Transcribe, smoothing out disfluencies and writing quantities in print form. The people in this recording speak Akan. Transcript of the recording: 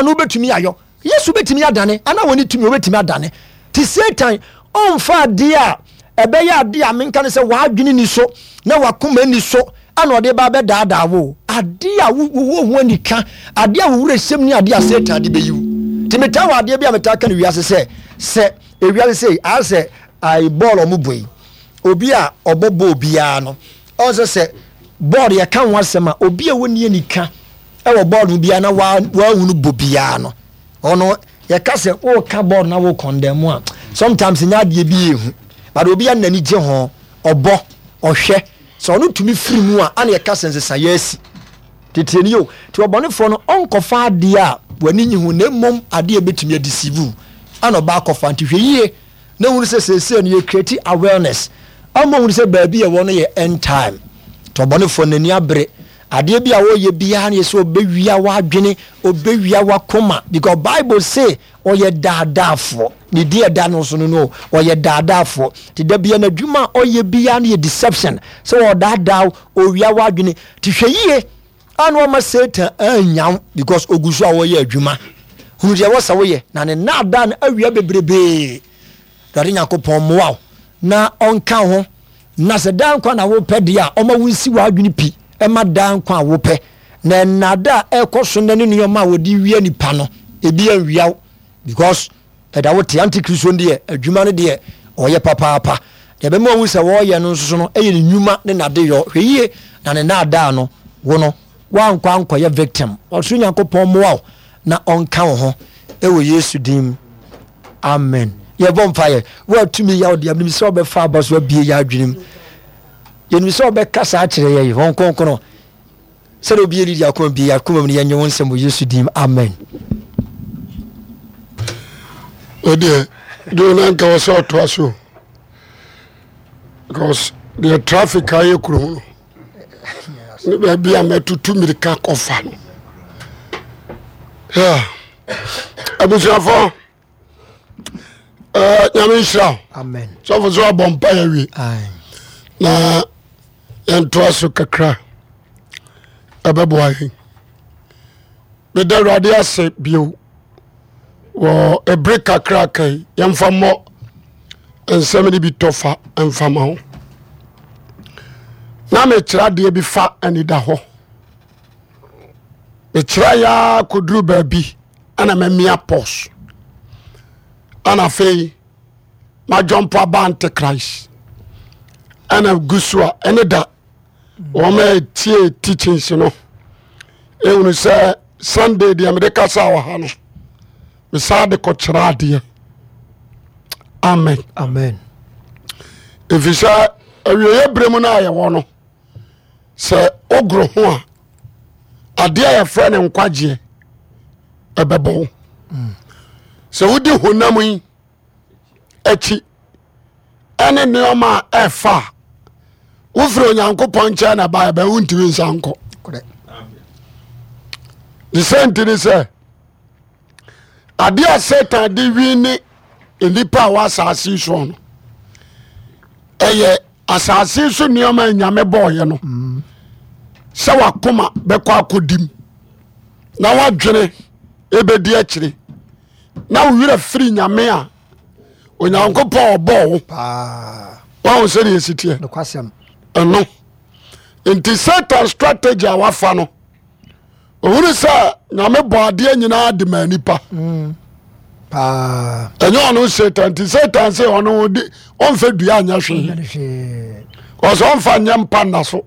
no wobɛtumi ayɔ. Yesu bɛtumi adane, ana wɔne tumi wɔbɛtumi adane. Te Satan ɔmfa adeɛ a ɛbɛyɛ adeɛ a menka no sɛ w'adwene ni so na w'akoma ni so ana ɔde ba bɛdaadaa wo. Adeɛ a wowɔ ho anika, adeɛ a wo werɛ hyɛm ni adeɛ a Satan de bɛyi wo. Nti metaa wɔ adeɛ bi a metaa ka no wiase sɛ, sɛ ewiase sei ayɛ sɛ ayi bɔɔl ɔmo bɔ yi, obi a ɔbɔ bɔɔl biara no, ɔn sɛ sɛ bɔɔl yɛka ho asɛm a, obi a wɔnni anika wɔ bɔɔl no biara na wahunu bɔ biara no, ɔno yɛka sɛ woka bɔɔl na wo condemn a, sometimes nyɛ adeɛ bi ehu, but obi a n'ani gye ho, ɔbɔ, ɔhwɛ, sɛ ɔno tumi firi mu a, ana yɛka sɛ nsesaeɛ asi. Tete ni o, nti ɔbɔnefoɔ no ɔnkɔfa adeɛ a w'ani nye ho na mmom adeɛ a ɛbɛtumi adeceive wo ana ɔba akɔfa. Nti hwɛ yie na hunu sɛ seesei no yɛ create awareness ama hunu sɛ baabi a ɛwɔ no yɛ end time. Nti ɔbɔnefoɔ no n'ani abere adeɛ bi a ɔyɛ biara no yɛ sɛ ɔbɛwia w'adwene, ɔbɛwia w'akoma, because Bible say ɔyɛ daadaafoɔ. Ne din a ɛda no so no no, ɔyɛ daadaafoɔ. Nti da bia n'adwuma a ɔyɛ biara no yɛ deception, sɛ ɔdaadaa wo, ɔwia w'adwene. Nti hwɛ yie a na wama Satan annya wo because ɔgu so a ɔyɛ adwuma. Hunu deɛ ɛwɔ sɛ woyɛ na ne nnaadaa no awia bebrebee. Awurade Nyankopɔn mmoa wo na ɔnka wo ho, na sɛ daa nkwa na wopɛ deɛ a, ɔma wo nsi w'adwene pi ma daa nkwa a wopɛ. Na nnaadaa a ɛrekɔ so nnɛ ne nneɛma a wɔde wia nipa no, ebi anwia wo because ɛda wo te. Antikristo no deɛ, adwuma no deɛ ɔyɛ papaapa. Deɛ ɛbɛma wahu sɛ wɔreyɛ no nso so no yɛ ne nnwuma ne n'adeyɔ. Hwɛ yie na ne nnaadaa no, wo no, woankɔ ankɔyɛ victim. Ɔsoro Nyankopɔn mmoa wo na ɔnka wo ho wɔ Yesu din mu. Amen. Yɛbɔ mpaeɛ. Wo a tumi yɛ wo deɛ, menim sɛ wobɛfa aba so abie yɛ adwene mu. Yɛnim sɛ wobɛkasa akyerɛ yɛn, Honhom Kronkron. Sɛdeɛ obi yɛ akoma bi akoma mu no yɛnyɛ wo nsɛm wɔ Yesu din amen. Ɛdeɛ deɛ na nka wɔ sɛ ɔtoa so because deɛ traffic ayɛ kurom no ne baabi a mɛtutu mmirika kɔfa no abusuafoɔ Eh, nyame nhyira wo sɔfo sɛ wabɔ mpa yɛ wie na yɛntoa so kakra ɛbɛboa yɛn meda awurade ase bio wɔ ɛbere kakra kai yɛmfa mmɔ nsɛm no bi tɔfa mfa ma wo na mekyerɛ adeɛ bi fa anida hɔ mekyerɛ yɛa kɔduru baabi ɛna mamia pɔs ɛna afei madwɔmpo aba antichrist ɛna gu so a ɛne da wɔn a ɛtie teachings no ehunu sɛ sunday deɛ mede kasa wɔ ha no mesaa de kɔkyerɛ adeɛ amen amen ɛfiri sɛ awieɛ berɛ mu no a yɛwɔ no sɛ wogoro ho a adeɛ a yɛfrɛ no nkwagyeɛ ɛbɛbɔ wo sɛ wodi honam yi akyi ɛne nneɛma a ɛfa a wofiri onyankopɔn nkyɛn na ba ɛbɛ wontumi nsa nkɔ ne sɛ nti ne sɛ adeɛ a satan de wi ne nnipa a wɔ asase soɔ no ɛyɛ asase so nneɛma a nyame bɔɔyɛ no mm. sɛ wakoma bɛkɔ akɔdim na wadwene ɛbɛdi akyire na wo werɛ firi nyame a onyankopɔn ɔbɔɔ wo wahu sɛdeɛ ɛsi teɛ ɛno nti satan strategy a wafa no ohunu sɛ nyame bɔ adeɛ nyinaa de ma nipa mm. ɛnyɛ ɔno satan nti satan sɛ ɔno de ɔmfa dua anyɛ hwee ɔsɛ ɔmfa nyɛ mpa nna so.